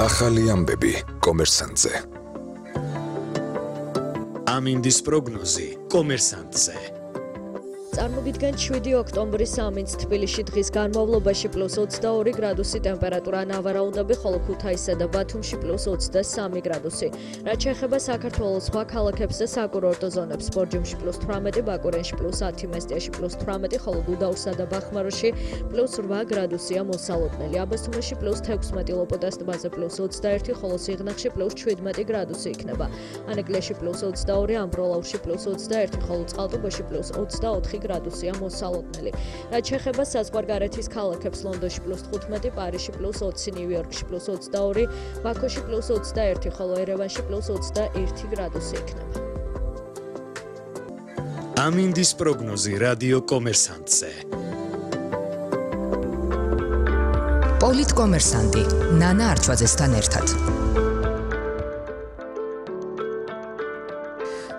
ახალი ამბები კომერსანტზე. ამინდის პროგნოზი კომერსანტზე. წარმოგიდგენთ 7 ოქტომბრის ამინდს თბილისში დღის განმავლობაში +22 გრადუსი ტემპერატურა ნავარაუდები, ხოლო ქუთაისსა და ბათუმში +23 გრადუსი. რაც შეეხება საქართველოს სხვა ქალაქებს და საკურორტო ზონებს, ბორჯომში +18, ბაკურენში +10, მესტიაში +18, ხოლო გუდაურსა და ბახმაროში +8 გრადუსია მოსალოდნელი. აბასთუმანში +16, ლოპოტას ტბაზე +21, ხოლო სიღნაღში +17 გრადუსი იქნება. ანეკლიაში +22, ამბროლაურში +21, ხოლო წყალტუბოში +24 გრადუსია მოსალოდნელი. რაც შეეხება საზღვარგარეთის ქალაქებს, ლონდონში +15, პარიზში +20, ნიუ-იორკში +22, ბაქოში +21, ხოლო ერევანში +21 გრადუსი იქნება. ამინდის პროგნოზი რადიო კომერსანტზე. პოლიტკომერსანტი ნანა არჩვაძესთან ერთად.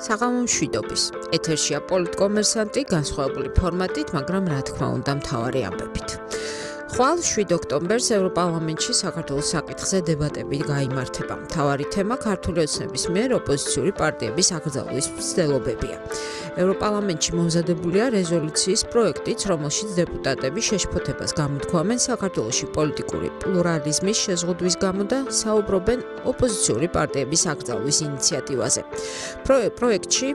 საღამო მშვიდობის. ეთერშია პოლიტკომერსანტი განსხვავებული ფორმატით, მაგრამ რა თქმა უნდა მთავარი ამბებით. ხვალ 7 ოქტომბერს ევროპარლამენტში საქართველოს საკითხზე დებატები გაიმართება. მთავარი თემა ქართული ოცნების მიერ ოპოზიციური პარტიების აკრძალვის მცდელობებია. ევროპარლამენტში მომზადებულია რეზოლუციის პროექტიც, რომელშიც დეპუტატები შეშფოთებას გამოთქვამენ საქართველოში პოლიტიკური პლურალიზმის შეზღუდვის გამო და საუბრობენ ოპოზიციური პარტიების აკრძალვის ინიციატივაზე. პროექტში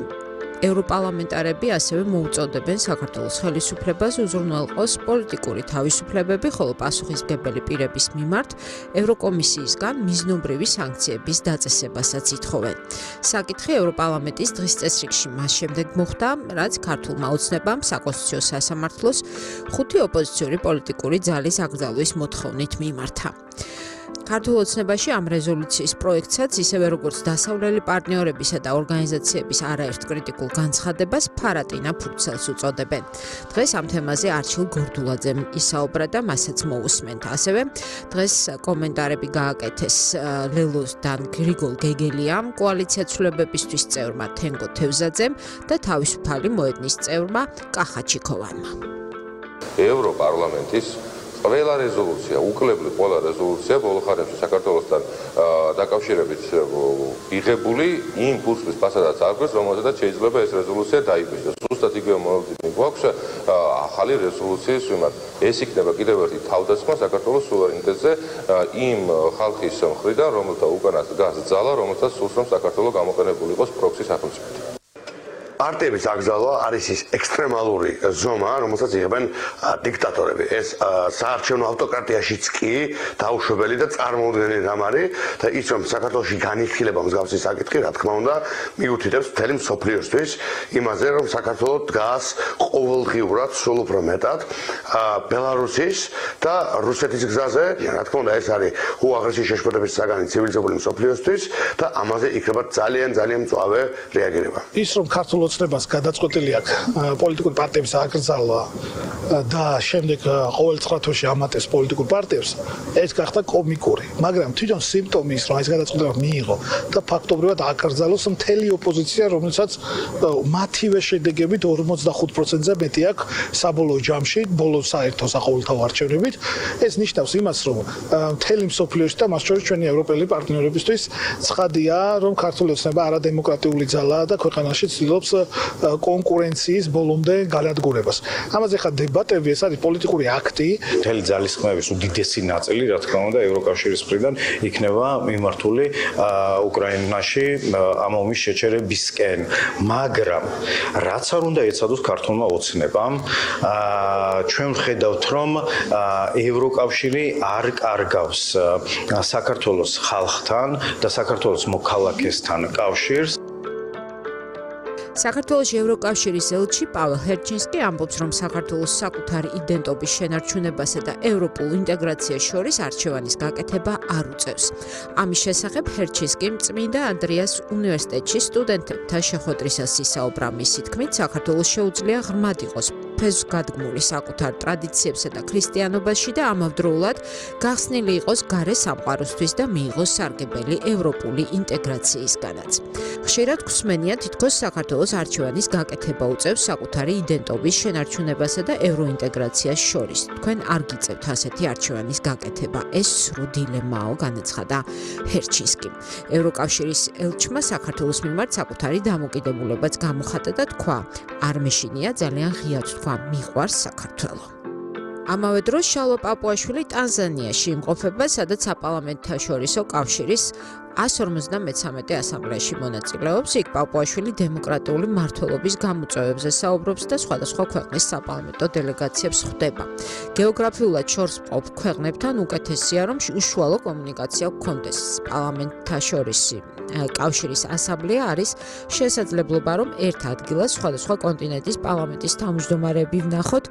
ევროპარლამენტარები ასევე მოუწოდებენ საქართველოს ხელისუფლებას უზრუნველყოს პოლიტიკური თავისუფლებები, ხოლო პასუხისმგებელი პირების მიმართ ევროკომისიისგან მიზნობრივი სანქციების დაწესებასაც ითხოვენ. საკითხი ევროპარლამენტის დღის წესრიგში მას შემდეგ მოხდა, რაც ქართულმა ოცნებამ საკონსტიტუციო სასამართლოს 5 ოპოზიციური პოლიტიკური ძალის აკრძალვის მოთხოვნით მიმართა. ქართულ ოცნებაში ამ რეზოლუციის პროექტსაც, ისევე როგორც დასავლელი პარტნიორებისა და ორგანიზაციების არაერთ კრიტიკულ განცხადებას ფარატინა ფურცელს უწოდებენ. დღეს ამ თემაზე არჩილ გორდულაძემ ისაუბრა და მასაც მოусმენთ. ასევე დღეს კომენტარები გააკეთეს ლელოსთან გრიგოლ გეგელიამ, კოალიცია ცვლილებებისთვის წევრმა თენგო თევზაძემ და თავისუფალი მოედნის წევრმა კახა ჩიქოვანმა. ევროპარლამენტის ყველა რეზოლუცია, უკლებლი ყველა რეზოლუცია ბოლო ხანებში საქართველოსთან დაკავშირებით იღებული იმ კურსის ფასადაც არქვეს, რომელზედაც შეიძლება ეს რეზოლუცია დაიბეჭდეს. ზუსტად იგივე მოლოდინი გვაქვს ახალი რეზოლუციის მიმართ. ეს იქნება კიდევ ერთი თავდასხმა საქართველოს სუვერენიტეტზე იმ ხალხის მხრიდან, რომელთა უკანას დგას ძალა, რომელსაც სურს რომ საქართველო გამოყენებული იყოს პროქსი სახელმწიფოდ. პარტიების აკრძალვა არის ის ექსტრემალური ზომა, რომელსაც იღებენ დიქტატორები. ეს საარჩევნო ავტოკრატიაშიც კი დაუშვებელი და წარმოუდგენელი რამ არის და ის რომ საქართველოში განიხილება მსგავსი საკითხი, რა თქმა უნდა, მიუთითებს მთელი მსოფლიოსთვის იმაზე, რომ საქართველო დგას ყოველდღიურად სულ უფრო მეტად ბელარუსის და რუსეთის გზაზე. რა თქმა უნდა, ეს არის უაღრესი შეშფოთების საგანი ცივილიზებული მსოფლიოსთვის და ამაზე იქნება ძალიან მწვავე რეაგირება. ის რომ ქართულ ოცნებას გადაწყვეტილი აქვს პოლიტიკური პარტიების აკრძალვა და შემდეგ ყოველ 9 თვეში ამატებს პოლიტიკურ პარტიებს, ეს გახდა კომიკური. მაგრამ თვითონ სიმპტომი ის რომ ეს გადაწყვეტილება მიიღო და ფაქტობრივად აკრძალოს მთელი ოპოზიცია, რომელსაც მათივე შედეგებით 45%-ზე მეტი აქვს საბოლოო ჯამში, ბოლო საერთო საყოველთაო არჩევნებით. ეს ნიშნავს იმას, რომ მთელი მსოფლიოში და მას შორის ჩვენი ევროპელი პარტნიორებისთვის ცხადია, რომ ქართული ოცნება არადემოკრატიული ძალაა და ქვეყანაში ცდილობს კონკურენციის ბოლომდე განადგურებას. ამაზე ხა დებატები, ეს არის პოლიტიკური აქტი. მთელი ძალისხმევის უდიდესი ნაწილი, რა თქმა უნდა, ევროკავშირის მხრიდან იქნება მიმართული უკრაინაში ამ ომის შეჩერებისკენ. მაგრამ რაც არ უნდა ეცადოს ქართულმა ოცნებამ, ჩვენ ვხედავთ, რომ ევროკავშირი არ კარგავს საქართველოს ხალხთან და საქართველოს მოქალაქესთან კავშირს. საქართველოს ევროკავშირის ელჩი პაველ ჰერჩინსკი ამბობს, რომ საქართველოს საკუთარი იდენტობის შენარჩუნებასა და ევროპულ ინტეგრაციას შორის არჩევანის გაკეთება არ უწევს. ამის შესახებ ჰერჩინსკიმ წმინდა ანდრიას უნივერსიტეტში სტუდენტებთან შეხვედრისას ისაუბრა. მისი თქმით, საქართველოს შეუძლია ღრმად იყოს ფესვგადგმული საკუთარ ტრადიციებსა და ქრისტიანობაში და ამავდროულად გახსნილი იყოს გარე სამყაროსთვის და მიიღოს სარგებელი ევროპული ინტეგრაციისგანაც. ხშირად გვსმენია თითქოს საქართველოს არჩევანის გაკეთება უწევს საკუთარი იდენტობის შენარჩუნებასა და ევროინტეგრაციას შორის. თქვენ არ გიწევთ ასეთი არჩევანის გაკეთება. ეს სრულ დილემაო, განაცხადა ჰერჩინსკიმ. ევროკავშირის ელჩმა საქართველოს მიმართ საკუთარი დამოკიდებულებაც გამოხატა და თქვა, არ მეშინია ძალიან ღიად თქვა, მიყვარს საქართველო. ამავე დროს შალვა პაპუაშვილი ტანზანიაში იმყოფება, სადაც საპარლამენტთაშორისო კავშირის 153 ასამბლეაში მონაწილეობს. იქ პაპუაშვილი დემოკრატიული მმართველობის გამოწვევებზე საუბრობს და სხვადასხვა ქვეყნის საპარლამენტო დელეგაციებს ხვდება. გეოგრაფიულად შორს მყოფ ქვეყნებთან უკეთესია, რომ უშუალო კომუნიკაცია გქონდეს. პარლამენტთაშორისი კავშირის ასამბლეა არის შესაძლებლობა, რომ ერთ ადგილას სხვადასხვა კონტინენტის პარლამენტის თავმჯდომარეები ვნახოთ,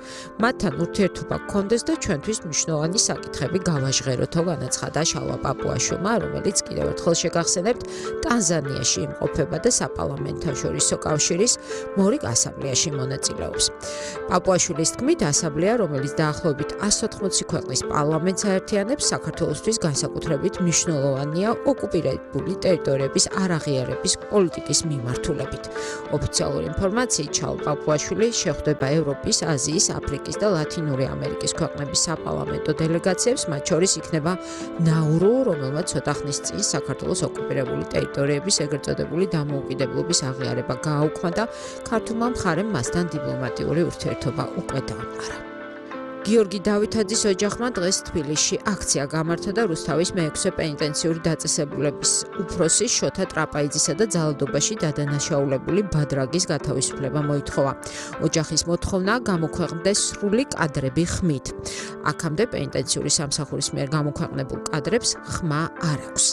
მათთან ურთიერთობა გქონდეს და ჩვენთვის მნიშვნელოვანი საკითხები გავაჟღეროთო, განაცხადა შალვა პაპუაშვილმა, რომელიც კიდევ ერთხელ შეგახსენებთ, ტანზანიაში იმყოფება და საპარლამენტთაშორისო კავშირის მორიგ ასამბლეაში მონაწილეობს. პაპუაშვილის თქმით, ასამბლეა, რომელიც დაახლოებით 180 ქვეყნის პარლამენტს აერთიანებს, საქართველოსთვის განსაკუთრებით მნიშვნელოვანია ოკუპირებული ტერიტორიების არაღიარების პოლიტიკის მიმართულებით. ოფიციალური ინფორმაციით, შალვა პაპუაშვილი შეხვდება ევროპის, აზიის, აფრიკის და ლათინური ამერიკის ქვეყნების საპარლამენტო დელეგაციებს, მათ შორის იქნება ნაურუ, რომელმაც ცოტა ხნის წინ საქართველოს ოკუპირებული ტერიტორიების ეგრეთ წოდებული დამოუკიდებლობის აღიარება გააუქმა და ქართულმა მხარემ მასთან დიპლომატიური ურთიერთობა უკვე დაამყარა. გიორგი დავითაძის ოჯახმა დღეს თბილისში აქცია გამართა და რუსთავის მე-6 პენიტენციური დაწესებულების უფროსის შოთა ტრაპაიძისა და ძალადობაში დადანაშაულებული ბადრაგის გათავისუფლება მოითხოვა. ოჯახის მოთხოვნაა გამოქვეყნდეს სრული კადრები ხმით. აქამდე პენიტენციური სამსახურის მიერ გამოქვეყნებულ კადრებს ხმა არ აქვს.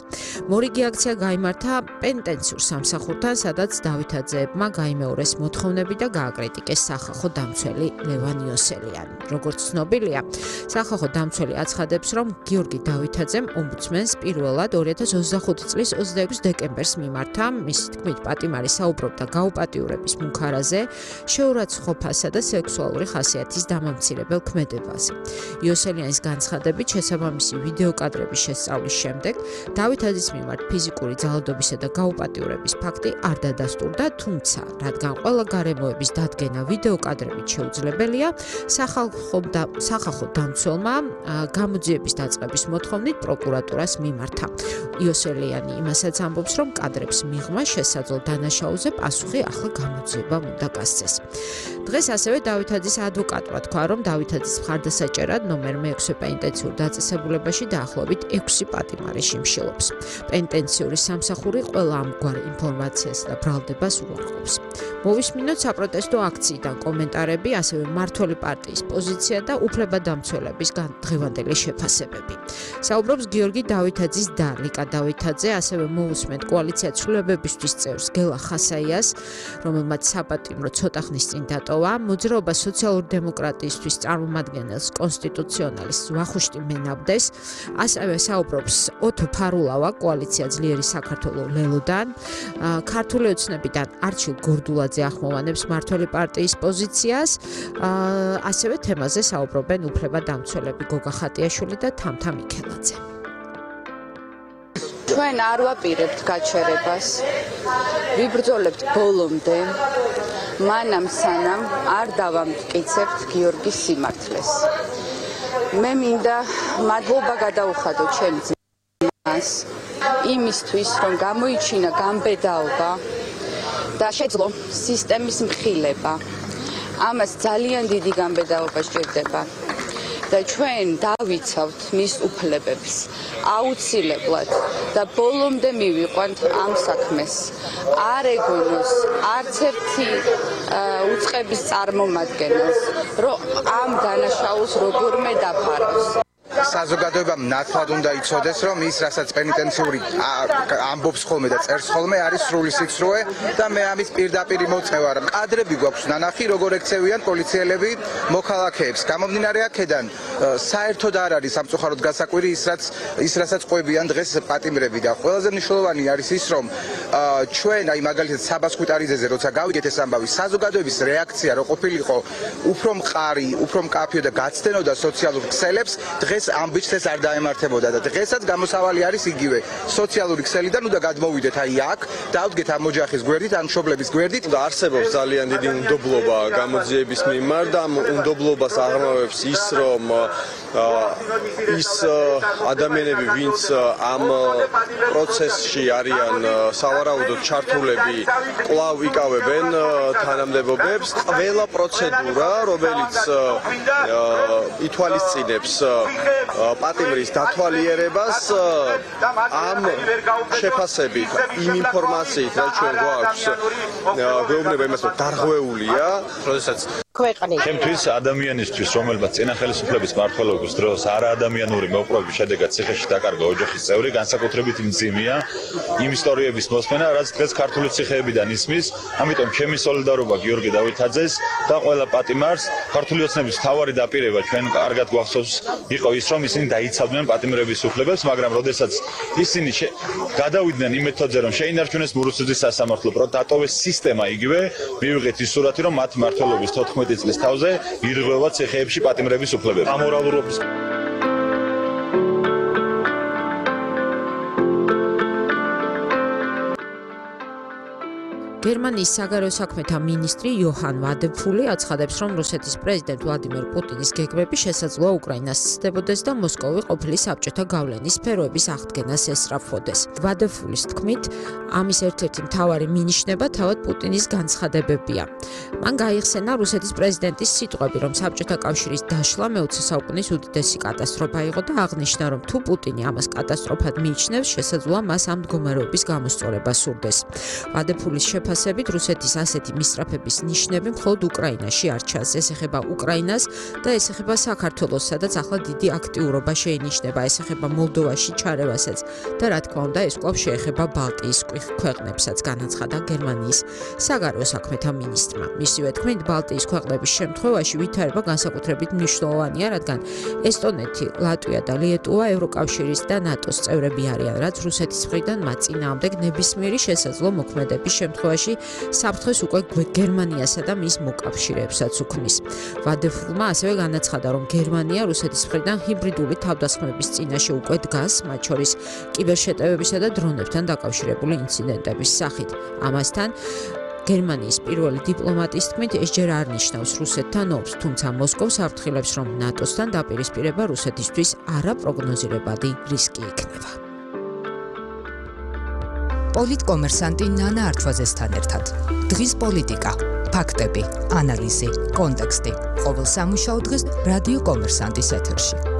მორიგი აქცია გაიმართა პენიტენციურ სამსახურთან, სადაც დავითაძეებმა გაიმეორეს მოთხოვნები და გააკრიტიკეს სახალხო დამცველი ლევან იოსელიანი. როგორც ცნობილია, სახალხო დამცველი აცხადებს, რომ გიორგი დავითაძემ ომბუდსმენს პირველად 2025 წლის 26 დეკემბერს მიმართა. მისი თქმით, პატიმარი საუბრობდა გაუპატიურების მუქარაზე, შეურაცხყოფასა და სექსუალური ხასიათის დამამცირებელ ქმედებაზე. იოსელიანის განცხადებით, შესაბამისი ვიდეოკადრების შესწავლის შემდეგ დავითაძის მიმართ ფიზიკური ძალადობისა და გაუპატიურების ფაქტი არ დადასტურდა, თუმცა, რადგან ყველა გარემოების დადგენა ვიდეოკადრებით შეუძლებელია, სახალხო დამცველმა გამოძიების დაწყების მოთხოვნით პროკურატურას მიმართა. იოსელიანი იმასაც ამბობს, რომ კადრებს მიღმა შესაძლო დანაშაულზე პასუხი ახლა გამოძიებამ უნდა გასცეს. დღეს ასევე დავითაძის ადვოკატმა თქვა, რომ დავითაძის მხარდასაჭერად ნომერ მე-6 პენიტენციურ დაწესებულებაში დაახლოებით 6 პატიმარი შიმშილობს. პენიტენციური სამსახური ყველა ამგვარ ინფორმაციას და ბრალდებას უარყოფს. მოვისმინოთ საპროტესტო აქციიდან კომენტარები, ასევე მმართველი პარტიის პოზიცია და უფლებადამცველების დღევანდელი შეფასებები. საუბრობს გიორგი დავითაძის და ლიკა დავითაძე, ასევე მოусმენთ კოალიცია ცვლილებებისთვის წევრს გელა ხასაიას, რომელმაც საპატიმრო ცოტა ხნის წინ დატოვა, მოძრაობა სოციალური დემოკრატიისთვის წარმომადგენელს კონსტიტუციონალის ვახუშტი მენაბდეს, ასევე საუბრობს ოთო ფარულავა კოალიცია ძლიერი საქართველო ლელოდან, ქართული ოცნებიდან არჩილ გორდულაძე ახმოვანებს მმართველი პარტიის პოზიციას, ასევე თემაზე საუბრობენ უფლებადამცველები გოგა ხატიაშვილი და თამთა მიქელაძე. ჩვენ არ ვაპირებთ გაჩერებას. ვიბრძოლებთ ბოლომდე, მანამ სანამ არ დავამტკიცებთ გიორგის სიმართლეს. მე მინდა მადლობა გადაუხადო ჩემ ძმას იმისთვის, რომ გამოიჩინა გამბედაობა და შეძლო სისტემის მხილება. ამას ძალიან დიდი გამბედაობა სჭირდება და ჩვენ დავიცავთ მის უფლებებს აუცილებლად და ბოლომდე მივიყვანთ ამ საქმეს. არ ეგონოს არც ერთი უწყების წარმომადგენელს, რომ ამ დანაშაულს როგორმე დაფაროს. საზოგადოებამ ნათლად უნდა იცოდეს, რომ ის რასაც პენიტენციური ამბობს ხოლმე და წერს ხოლმე არის სრული სიცრუე და მე ამის პირდაპირ მოწევა. კადრები გვაქვს ნანახი, როგორ ექცევიან პოლიციელები მოქალაქეებს. გამომდინარე აქედან საერთოდ არ არის სამწუხაროდ გასაკვირი ის რასაც ყვებიან დღეს პატიმრები და ყველაზე მნიშვნელოვანი არის ის, რომ ჩვენ აი მაგალითად საბას ხვიტარიძეზე როცა გავიგეთ ეს ამბავი, საზოგადოების რეაქცია რო ყოფილიყო უფრო მყარი, უფრო მკაფიო და გაცდენოდა სოციალურ ქსელებს, დღეს ამბიჩს ეს არ დაემართებოდა და დღესაც გამოსავალი არის იგივე. სოციალური ქსელიდან უნდა გადმოვიდეთ აი აქ, დავდგეთ ამ ოჯახის გვერდით, ამ მშობლების გვერდით და არსებობს ძალიან დიდი უნდობლობა გამოძიების მიმართ და ამ უნდობლობას აღრმავებს ის, რომ ის ადამიანები, ვინც ამ პროცესში არიან სავარაუდოდ ჩართულები, კვლავ იკავებენ თანამდებობებს. ყველა პროცედურა, რომელიც ითვალისწინებს პატიმრის დათვალიერებას, ამ შეფასებით, იმ ინფორმაციით, რაც ჩვენ გვაქვს, გვეუბნება იმას, რომ დარღვეულია, როდესაც ჩემთვის ადამიანისთვის, რომელმაც წინა ხელისუფლების მმართველობის დროს არაადამიანური მოპყრობის შედეგად ციხეში დაკარგა ოჯახის წევრი, განსაკუთრებით მძიმეა იმ ისტორიების მოსმენა, რაც დღეს ქართული ციხეებიდან ისმის. ამიტომ ჩემი სოლიდარობა გიორგი დავითაძეს და ყველა პატიმარს. ქართული ოცნების მთავარი დაპირება ჩვენ კარგად გვახსოვს იყო ის, რომ ისინი დაიცავდნენ პატიმრების უფლებებს, მაგრამ როდესაც ისინი გადავიდნენ იმ მეთოდზე, რომ შეინარჩუნეს მურუცუძის სასამართლო, დატოვეს სისტემა იგივე, მივიღეთ ის სურათი, რომ მათ მმართველობის 14 წლის თავზე ირღვევა ციხეებში პატიმრების უფლებები. ამორალურობის გერმანიის საგარეო საქმეთა მინისტრი იოჰან ვადეფული აცხადებს, რომ რუსეთის პრეზიდენტ ვლადიმერ პუტინის გეგმები შესაძლოა უკრაინას სცდებოდეს და მოსკოვი ყოფილი საბჭოთა გავლენის სფეროების აღდგენას ესწრაფვოდეს. ვადეფულის თქმით, ამის ერთ-ერთი მთავარი მინიშნება თავად პუტინის განცხადებებია. მან გაიხსენა რუსეთის პრეზიდენტის სიტყვები, რომ საბჭოთა კავშირის დაშლა მე-20 საუკუნის უდიდესი კატასტროფა იყო და აღნიშნა, რომ თუ პუტინი ამას კატასტროფად მიიჩნევს, შესაძლოა მას ამ მდგომარეობის გამოსწორება სურდეს. ვადეფულის შეფასებით რუსეთის ასეთი მისწრაფების ნიშნები მხოლოდ უკრაინაში არ ჩანს. ეს ეხება უკრაინას და ეს ეხება საქართველოს, სადაც ახლა დიდი აქტიურობა შეინიშნება. ეს ეხება მოლდოვაში ჩარევასაც და რა თქმა უნდა, ეს კვლავ შეეხება ბალტიის ქვეყნებსაც, განაცხადა გერმანიის საგარეო საქმეთა მინისტრმა. მისივე თქმით, ბალტიის ქვეყნების შემთხვევაში ვითარება განსაკუთრებით მნიშვნელოვანია, რადგან ესტონეთი, ლატვია და ლიეტუვა ევროკავშირის და ნატოს წევრები არიან, რაც რუსეთის მხრიდან მათ წინააღმდეგ ნებისმიერი შესაძლო მოქმედების შემთხვევაში საფრთხეს უკვე გერმანიასა და მის მოკავშირეებსაც უქმნის. ვადეფულმა ასევე განაცხადა, რომ გერმანია რუსეთის მხრიდან ჰიბრიდული თავდასხმების წინაშე უკვე დგას, მათ შორის კიბერშეტევებისა და დრონებთან დაკავშირებული ინციდენტების სახით. ამასთან გერმანიის პირველი დიპლომატის თქმით, ეს ჯერ არ ნიშნავს რუსეთთან ომს, თუმცა მოსკოვს აფრთხილებს, რომ ნატოსთან დაპირისპირება რუსეთისთვის არაპროგნოზირებადი რისკი იქნება. პოლიტკომერსანტი ნანა არჩვაძესთან ერთად. დღის პოლიტიკა, ფაქტები, ანალიზი, კონტექსტი. ყოველ სამუშაო დღეს რადიო კომერსანტის ეთერში.